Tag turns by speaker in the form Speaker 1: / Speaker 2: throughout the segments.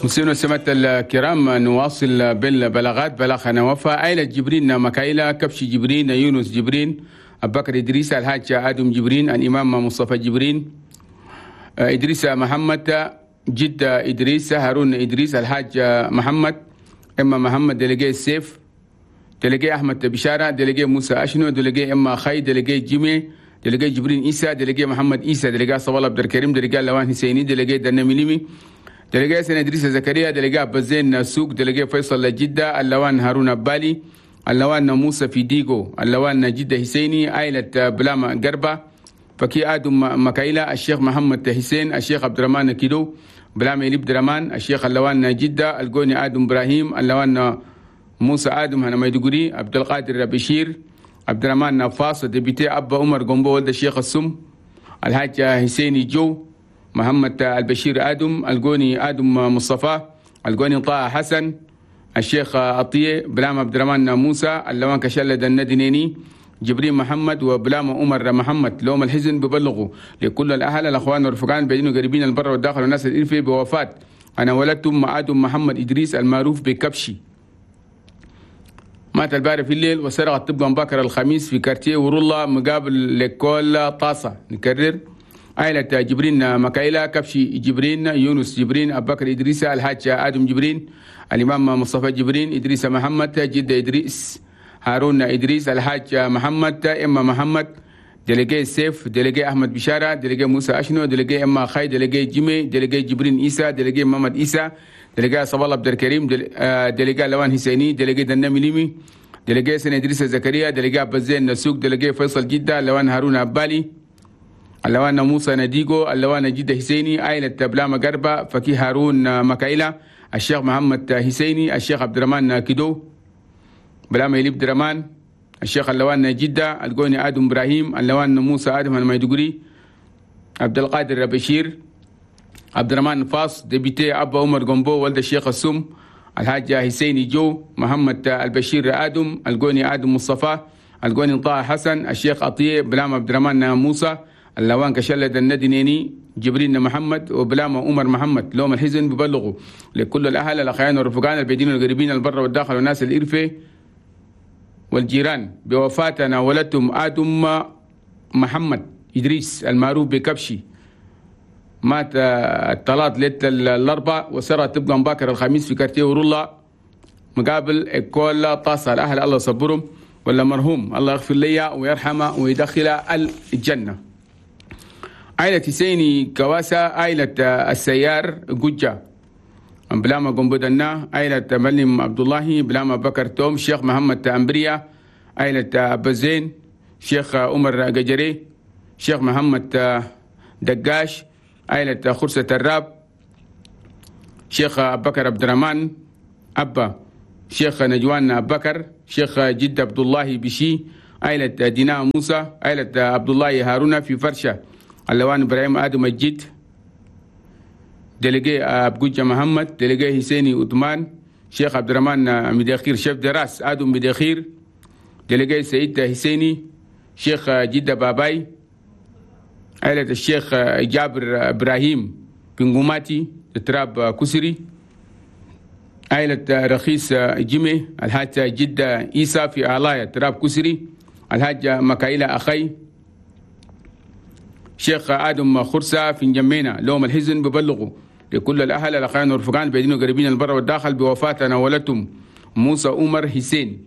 Speaker 1: مسلمين وسمات الكرام، نواصل بالبلاغات. بلاغنا وفا عائلة جبرين مكايلة، كبش جبرين، يونس جبرين، أبو بكر إدريس، الحاج آدم جبرين، الإمام مصطفى جبرين، إدريس محمد، جد إدريس، هارون إدريس، الحاج محمد، إما محمد، délégué السيف، délégué أحمد بشارة، délégué موسى أشنو، délégué إما خي، délégué جيمي، délégué جبرين إيسا، délégué محمد إيسا، délégué صوال عبد الكريم، délégué لوان حسيني، délégué دنميليمي، délégué سنة إدريس زكريا، délégué أبزين سوق، délégué فيصل جدة، اللوان هارون أبالي، اللوان موسى في ديغو، اللوان جدة حسيني، عائلة بلاما قربة، فكي آدم مكايلة، الشيخ محمد حسين، الشيخ عبد الرحمن كيدو، بلام إليب درمان، الشيخ اللوان جدة، القوني آدم إبراهيم، اللوان موسى آدم هنا ميدوغري، عبد القادر بشير، عبد الرحمن نفاص، député أبا عمر قنبو ولد الشيخ السم، الحاج حسيني جو، محمد البشير آدم، القوني آدم مصطفى، القوني طه حسن، الشيخ عطية، بلام عبد الرحمن موسى، اللوان كشلد الندنيني، جبريل محمد، وبلام عمر محمد. لوم الحزن ببلغوا لكل الأهل الأخوان والرفقان بين قريبين البر والداخل والناس الإلفي بوفاة أنا ولدتم آدم محمد إدريس المعروف بكبشي، مات الباري في الليل وسرقت طبقا بكر الخميس في quartier ورولة مقابل l'école طاسة. نكرر، عائلة جبرين مكايلة، كبشي جبرين، يونس جبرين، أبو بكر إدريس، الحاج آدم جبرين، الإمام مصطفى جبرين، إدريس محمد، جد إدريس، هارون إدريس، الحاج محمد، إما محمد، délégué سيف، délégué أحمد بشارة، délégué موسى أشنو، délégué إما خي، délégué جيمي، délégué جبرين إيسا، délégué محمد إيسا، délégué صبال عبد الكريم، délégué لوان حسيني، délégué دنامي ليمي، délégué سنة إدريس زكريا، délégué أبزين نسوق، délégué فيصل جدة، لوان هارون أبالي، اللوان موسى نديغو، اللوان جدة حسيني، عائلة بلاما قربة، فكي هارون مكايلة، الشيخ محمد حسيني، الشيخ عبد الرحمن كيدو، بلاما يليب درمان، الشيخ اللوان جدة، القوني آدم إبراهيم، اللوان موسى آدم الميدوغري، عبد القادر بشير، عبد الرحمن فاص، député أبا عمر قنبو ولد الشيخ السم، الحاج حسيني جو، محمد البشير آدم، القوني آدم مصطفى، القوني طه حسن، الشيخ عطية، بلام عبد الرحمن موسى، اللوان كشلد الندنيني، جبرين محمد، وبلام عمر محمد. لوم الحزن ببلغوا لكل الأهل الأخيان والرفقان البيدين والقريبين البر والداخل والناس الإرفة والجيران بوفاتنا ولدتم آدم محمد إدريس المعروف بكبشي، مات الثلاث ليلة الأربعاء وسرى تبقى مباكر الخميس في quartier ورولة مقابل école طاسة. الأهل الله يصبرهم ولا مرحوم الله يغفر لي ويرحمه ويدخل الجنة. عائلة حسيني كواسة، عائلة السيار قجة، بلاما قنبدنا، عائلة ملم عبد الله، بلاما بكر توم، شيخ محمد أمبريا، عائلة أبزين، شيخ عمر قجري، شيخ محمد دقاش، عائلة خرسة الراب، شيخ بكر عبد الرحمن أبا، شيخ نجوان بكر، شيخ جد عبد الله بشي، عائلة دينا موسى، عائلة عبد الله هارون في فرشة، اللوان إبراهيم آدم الجد، délégué أبجوجة محمد، délégué حسيني عثمان، شيخ عبد الرحمن مدخير chef de race آدم مدخير، délégué سعيد حسيني، شيخ جدة باباي، عائلة الشيخ جابر إبراهيم بنقوماتي تراب كسري، عائلة رخيص جيمي، الحاج جدة إيسا في علاية تراب كسري، الحاج مكايلة أخي، شيخ آدم خرسة في جمينة. لوم الحزن ببلغوا لكل الأهل الأخوان والرفقان بيدين قريبين البر والداخل بوفاتنا ولدتم موسى عمر حسين.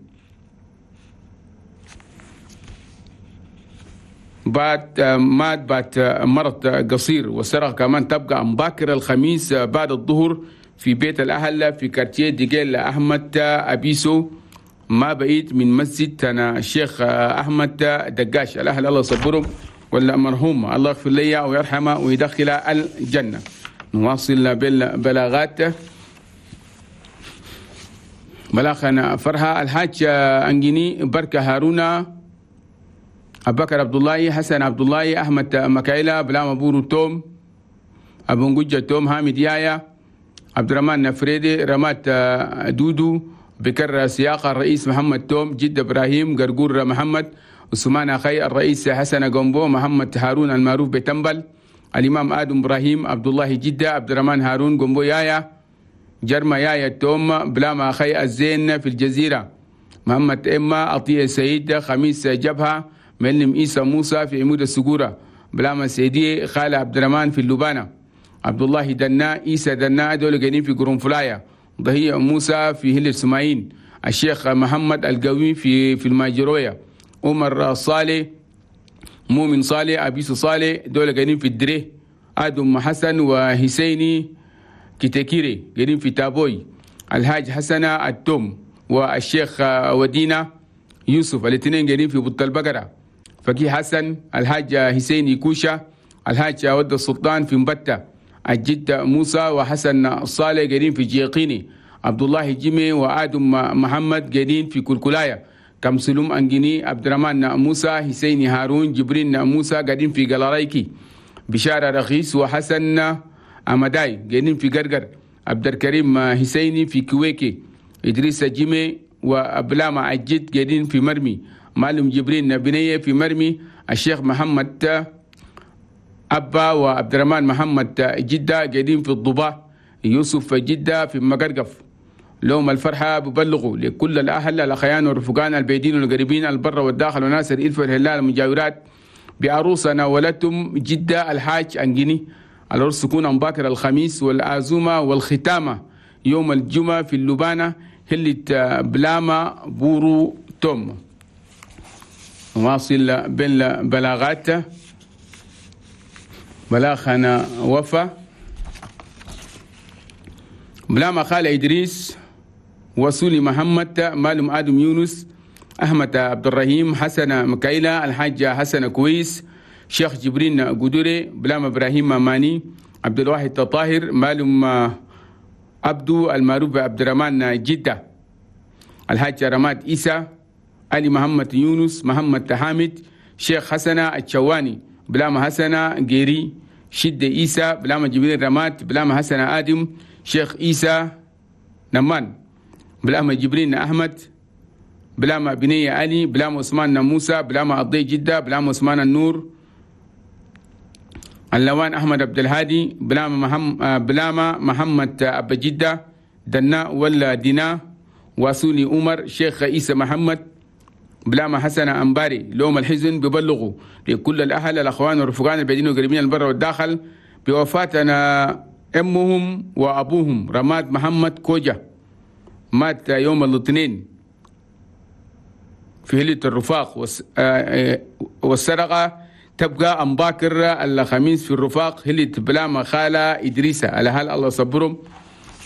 Speaker 1: بعد مات بعد مرض قصير وسرق كمان تبقى مباكر الخميس بعد الظهر في بيت الأهل في كارتيه ديجيل أحمد أبيسو ما بعيد من مسجد أنا الشيخ أحمد دقاش. الأهل الله يصبرهم ولا مرحوم الله يغفر لي ويرحمه ويدخل الجنة. نواصل بالبلاغات. بلاغنا فرها الحاج أنجيني بركة هارونا أبو بكر عبد الله حسن عبد الله أحمد مكايلة بلام أبو توم أبو نجوجة توم حامد يايا عبد الرحمن نفريدي رمات دودو بكر سياق الرئيس محمد توم جد إبراهيم قرقور محمد عثمان أخي الرئيس حسن قنبو محمد هارون المعروف بتنبل الإمام آدم إبراهيم عبد الله جدة عبد الرحمن هارون قنبو يايا جرما يايا التوم بلاما خي الزين في الجزيرة، محمد إما عطية سيد خميس جبهة، معلم إيسى موسى في عمود السجورة، بلاما سيدي خالة عبد الرحمن في اللبانة، عبد الله دنا إيسى دنا دول قاعدين في قرنفلايا، ضهية موسى في هل السماعين، الشيخ محمد القوي في الماجروية، عمر صالح مؤمن صالح أبيس صالح دول قاعدين في الدري، آدم حسن وحسيني كتكيري قاعدين في تابوي، الحاج حسن التوم والشيخ ودينا يوسف الاثنين قاعدين في بط البقرة، فقيه حسن الحاج حسيني كوشة، الحاج ود السلطان في مبتة، الجد موسى وحسن صالح قاعدين في جيقيني، عبد الله جيمي وآدم محمد قاعدين في كلكلايا، كمسلوم أنجيني عبد الرحمن موسى حسيني هارون جبرين موسى قاعدين في قلارايكي، بشارة رخيص وحسن أمداي قاعدين في قرقر، عبد الكريم حسيني في كويكي، إدريس جيمي وأبلاما الجد قاعدين في مرمي، معلم جبرين بنية في مرمي، الشيخ محمد أبا وعبد الرحمن محمد جدة قاعدين في الضباء، يوسف جدة في مقرقف. لهم الفرحة ببلغوا لكل الأهل الأخيان والرفقان البعيدين والقريبين البر والداخل وناس الإلف والهلال المجاورات بعروسنا ولدتم جدة الحاج أنجيني. العرس تكون باكر الخميس والعزومة والختامة يوم الجمعة في اللبانة هلة بلاما بورو توم. نواصل بالبلاغات. بلاغنا وفا بلاما خال إدريس وصولي محمد مالم آدم يونس أحمد عبد الرحيم حسن مكايلة الحاج حسن كويس شيخ جبرين قدوري بلام إبراهيم ماني عبد الواحد طاهر مالم عبدو المعروف عبد الرحمن جدة الحاج رماد إيسى علي محمد يونس محمد حامد شيخ حسن الشواني بلام حسن جيري شد إيسى بلام جبرين رماد بلام حسن آدم شيخ إيسى نمان بلام جبرين أحمد بلام بنية علي بلام عثمان موسى بلام أضي جدة بلام عثمان النور اللوان أحمد عبد الهادي بلام محمد أبا جدة دنا ولا دينا واسوني عمر شيخ عيسى محمد بلام حسن أنباري. لوم الحزن ببلغوا لكل الأهل الأخوان والرفقان البعيدين والقريبين البر والداخل بوفاتنا أمهم وأبوهم رماد محمد كوجة مات يوم الاثنين في هلة الرفاق والسرقة تبقى أمباكر الخميس في الرفاق هلة بلاما خالة إدريسة. على هل الله صبرهم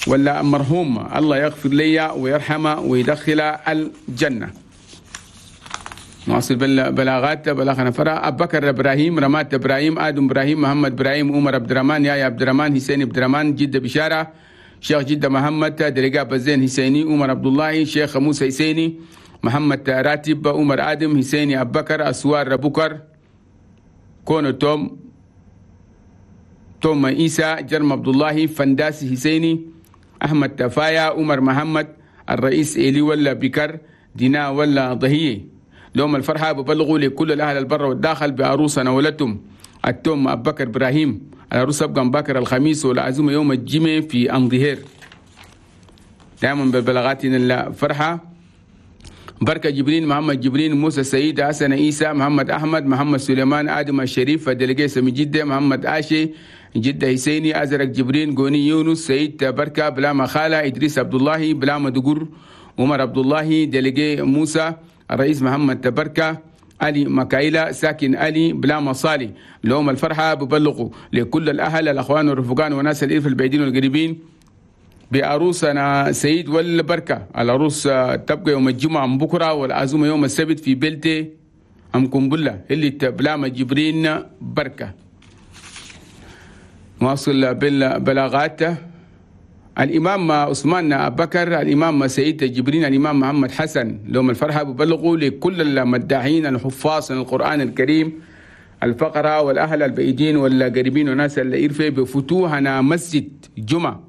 Speaker 1: ولا مرحوم الله يغفر لي ويرحمه ويدخل الجنة. نواصل بالبلاغات. بلاغنا فرا أبو بكر إبراهيم رمات إبراهيم آدم إبراهيم محمد إبراهيم عمر عبد الرحمن يا عبد الرحمن حسين عبد الرحمن جدة بشارة شيخ جدة محمد درقاب الزين حسيني عمر عبد الله شيخ موسى حسيني محمد راتب عمر آدم حسيني أبو بكر أسوار بكر كونو توم توم عيسى جرم عبد الله فنداسي حسيني أحمد تفايا عمر محمد الرئيس إلي ولا بكر دينا ولا ضهية. لهم الفرحة ببلغوا لكل الأهل البر والداخل بعروسنا ولدتم التوم أبو بكر إبراهيم. العروس أبقى بكر الخميس والعزومة يوم الجمعة في أنظهير. دائما ببلاغاتنا الفرحة. بركة جبرين محمد جبرين موسى سعيد حسن عيسى محمد أحمد محمد سليمان آدم الشريف دلقي سمي جدة محمد آشي جدة حسيني أزرق جبرين قوني يونس سعيد بركة بلاما خالة إدريس عبد الله بلاما دقر عمر عبد الله دلقي موسى الرئيس محمد بركة علي مكايلة ساكن علي بلاما صالي. لهم الفرحة ببلغوا لكل الأهل الأخوان والرفقان وناس الإلف البعيدين والقريبين بعروسنا سيد والبركة. العروس تبقى يوم الجمعة من بكرة والعزومة يوم السبت في بلتي أم قنبلة اللي بلاما جبرين بركة. نواصل بالبلاغات. الإمام عثمان أبو بكر الإمام سعيد جبرين الإمام محمد حسن. لهم الفرحة ببلغوا لكل المداحين الحفاظ القرآن الكريم الفقراء والأهل البعيدين والقريبين وناس الإرفة بفتوحنا مسجد جمعة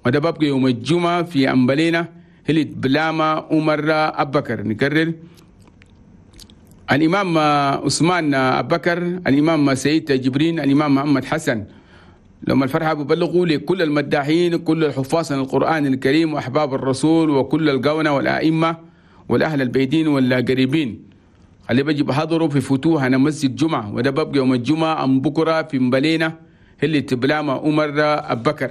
Speaker 1: وده ببقى يوم الجمعة في أمبلينا هلت بلاما عمر أبو بكر. نكرر الإمام عثمان أبو بكر الإمام سعيد جبرين الإمام محمد حسن. لما الفرحة ببلغوا لكل المداحين، كل الحفاظ عن القرآن الكريم وأحباب الرسول وكل القونة والأئمة والأهل البيدين والقريبين اللي بجي بحضروا في فتوح أنا مسجد جمعة، وده ببقى يوم الجمعة أم بكرة في مبلينة اللي تبلامة عمر أبكر.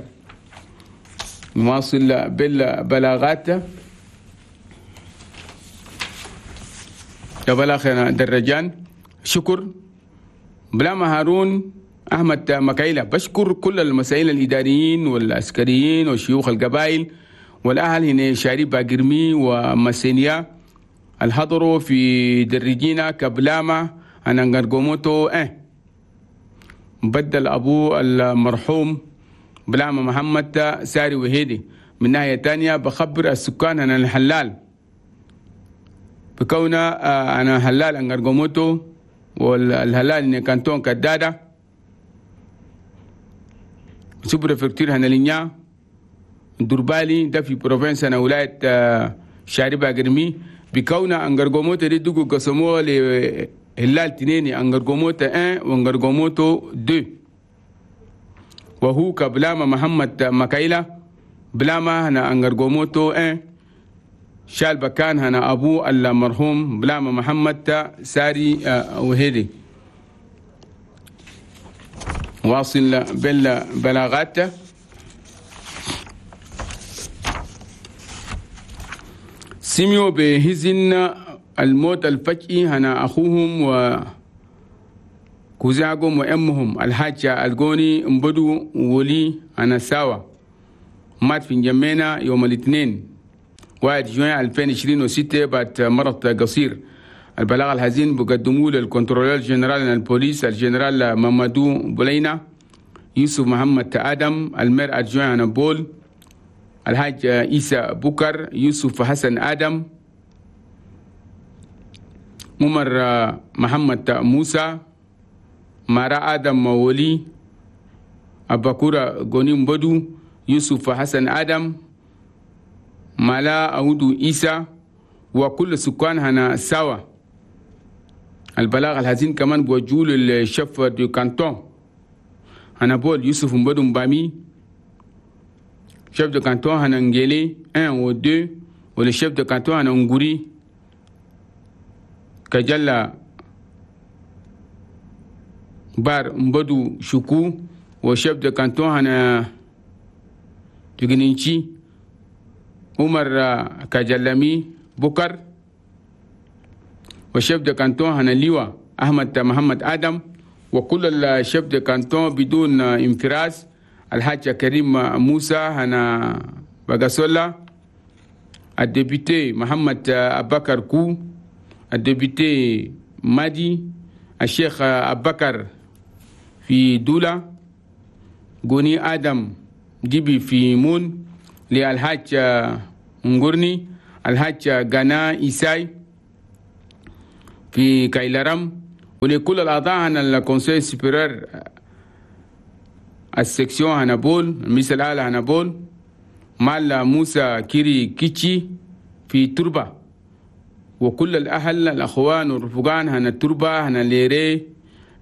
Speaker 1: نواصل بالبلاغات. يا بلاغ درجان شكر بلامة هارون أحمد مكايلة بشكر كل المسائل الإداريين والعسكريين وشيوخ القبائل والأهل هنا شاري باقرمي ومسينيا الحضروا في درجينا كبلامة أنا نغرقوموتو بدل أبو المرحوم بلامة محمد ساري وهيدي. من ناحية تانية بخبر السكان أنا الحلال بكونا أنا هلال أنغرقوموتو والهلال إن كانتون كدادة sous-préfecture هنا لينيا دربالي ده في province أنا ولاية شاربة قرمي بكونا أنغرقوموتو دي دوغو قسموه لهلال تنيني أنغرقوموتو 1 وأنغرقوموتو 2 وهو كبلامة محمد مكايلة بلامة هنا أنغرقوموتو 1 شال بكان هنا أبو المرحوم بلامة محمد ساري وهيدي. واصل بالبلاغات. سمعوا بهزن الموت الفجئي هنا أخوهم وكوزاقهم وأمهم الحاجة الجوني مبدو ولي هنا ساوا مات في جمينا يوم الاثنين 1 جوان 2026 بعد مرض قصير. البلاغ الحزين بقدموه لل contrôleur général البوليس الجنرال مامادو بولينا يوسف محمد آدم ال maire adjoint بول الحاج عيسى بكر يوسف حسن آدم عمر محمد موسى مارا آدم ولي أباكورا غونيم بدو يوسف حسن آدم مالا أودو عيسى وكل سكان هنا سوا. البلاغ الحزين كمان بوجول ال chef de canton هنا بول يوسف مبدو مبامي chef de canton هنا نجيلي 1 و 2 وال chef de canton هنا نغوري كجلا بار مبدو شكو و chef de canton هنا تجنينشي عمر كجلمي بكر و chef de canton هنا ليوا أحمد محمد آدم وكل ال chefs de canton بدون انفراز الحاج كريم موسى هنا بغاسولا ال député محمد أبكر كو ال député مادي الشيخ أبكر في دولة غوني آدم جيبي في مون للحاج نغورني الحاج غانا إيساي في كايلرام ولكل الأعضاء عن ال conseil supérieur ال section هنابول المجلس الأعلى هنابول مال موسى كيري كيتشي في تربة وكل الأهل الأخوان والرفقان هنا التربة هنا ليري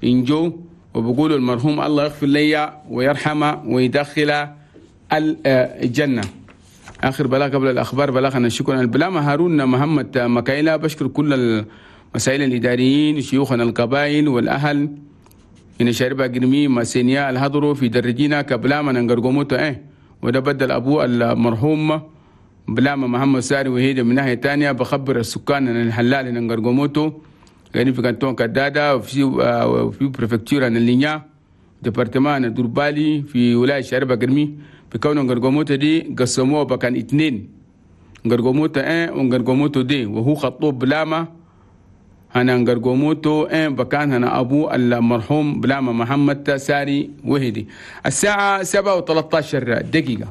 Speaker 1: إنجو وبقولوا المرحوم الله يغفر لي ويرحمه ويدخل الجنة. آخر بلاغ قبل الأخبار بلاغنا شكرا البلامة هارون محمد مكايلة بشكر كل المسائل الإداريين شيوخنا القبائل والأهل إن شاربا قرمي مسينيا الهضرو في درجينا كبلامة نغرقوموتو وده بدل أبوه المرحوم بلامة محمد ساري وهيدا. من ناحية تانية بخبر السكان أن الحلال نغرقوموتو يعني في canton كدادة وفي préfecture اللينيا département دربالي في ولاية شاربا قرمي بكون نغرقوموتو دي قسموه بكان 2 نغرقوموتو 1 ونغرقوموتو 2 وهو خطوب بلامة هنا نغرقوموتو 1 بكان هنا أبو المرحوم بلامة محمد ساري وهدي. الساعة 7:13 دقيقة.